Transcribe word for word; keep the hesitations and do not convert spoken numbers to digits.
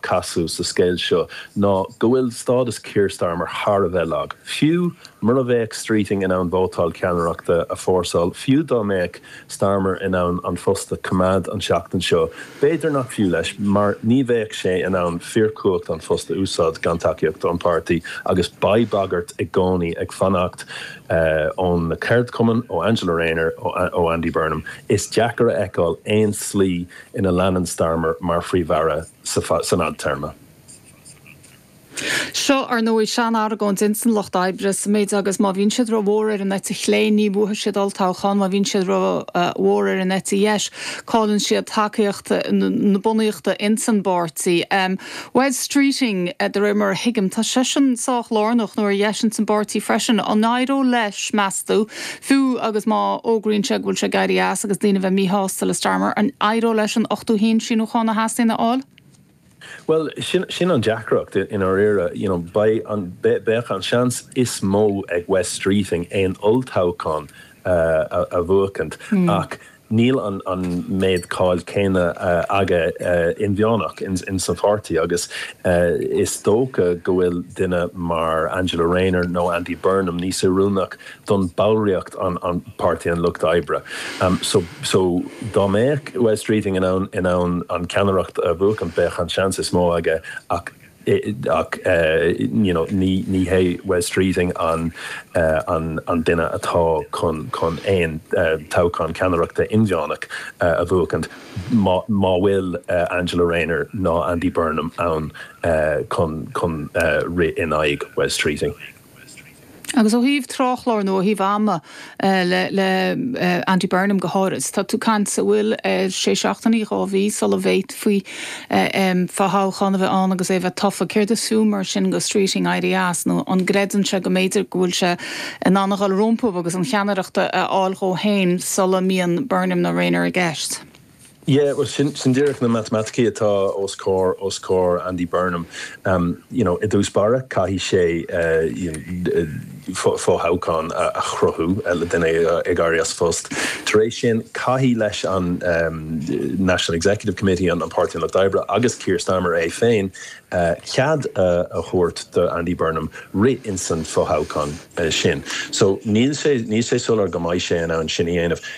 casadh sa scéal seo ná go bhfuil stádas Keir Starmer thar a bheith lag. Fiú mura mbeadh Streeting in ann vótáil ceannaireachta a fhorsáil, fiú dá mbeadh Starmer in ann an post a choimeád an seachtain seo. B'fhéidir nach fiú leis mar ní bheadh sé in ann fíorchumhacht an phost a úsáid gan tacaíocht an pháirtí agus beidh bagairt i gcónaí ag fanacht uh, ón na ceardchumainn ó Angela Rayner ó, ó Andy Burnham. Is deacair a fheiceáil aon slí ina leanann Starmer mar phríomh-aire san fhadtéarma. Seo ar ndóigh sean-argóint insan lucht oibre sa méid agus má bhíonn siad ró-mhór ar an eite chlé ní bhuafaidh siad olltoghchán, má bhíonn siad ró-mhór ar an eite dheis, cailleann siad tacaíocht na bunaíochta insan bpáirtí. Um, Wes Streeting uh, de réir mar a thuigim tá seisean sách lárnach nó ar dheis insan bpáirtí freisin an éireoidh leis meas tú fiú agus má fhógraíonn sé go bhfuil sé ag éirí as agus daoine bheith míshásta le Starmer an éireoidh leis an ochtó haon síniúchán a theastaíonn a fháil? Well sin, sin an deacracht in áirithe you know, an beidh an seans is mó ag Wes Streeting aon olltoghchán uh, a, a bhuachaint mm. ach níl an, an méid cáil céanna uh, aige uh, inmheánach in, in san pháirtí agus uh, is dócha go bhfuil duine mar Angela Rayner nó Andy Burnham níos oiriúnaí don bhallraíocht an, an Páirtí an Lucht Oibre. Um, so, so dá mbeadh Wes Streeting in ann in ann an ceannaireacht a bhuachan beidh an seans is mó aige ach ach uh, you know, ní ní hé Wes Streeting an, uh, an, an duine atá chun chun aon uh, toghchán ceannaireachta inmheánach uh, a bhuachaint má bhfuil uh, Angela Rayner ná Andy Burnham ann uh, chun chun uh, rith in aghaidh Wes Streeting. Agus ó thaobh tráthchlár nó ó thaobh ama uh, le, le uh, Andy Burnham go háirithe. Tá tú caint a bhfuil uh, sé seachtainí dhá mhí sula bhféadfaí um, fothoghchán a bheith ann agus é bheith tofa céard is fiú mar sin do Streeting éirí as nó an gcreideann sé go mb'fhéidir go bhfuil sé in ann a dhul rompu agus an cheannaireacht a fháil dhó féin sula mbíonn Burnham nó Rayner i gceist. Yeah, well sin sin díreach na matamaiticí atá os comhair os comhair Andy Burnham. Um, you know, i dtús báire caithfidh sé uh, you know, fothoghchán a, a chruthú le duine ag éirí as phost. Tar éis sin caithfidh leis an um, National Executive Committee an an Páirtí Lucht Oibre agus Keir Starmer é féin uh, cead uh, a thabhairt do Andy Burnham rith in san fothoghchán uh, sin. So níl sé níl sé soiléir go mbeidh sé in ann sin a dhéanamh.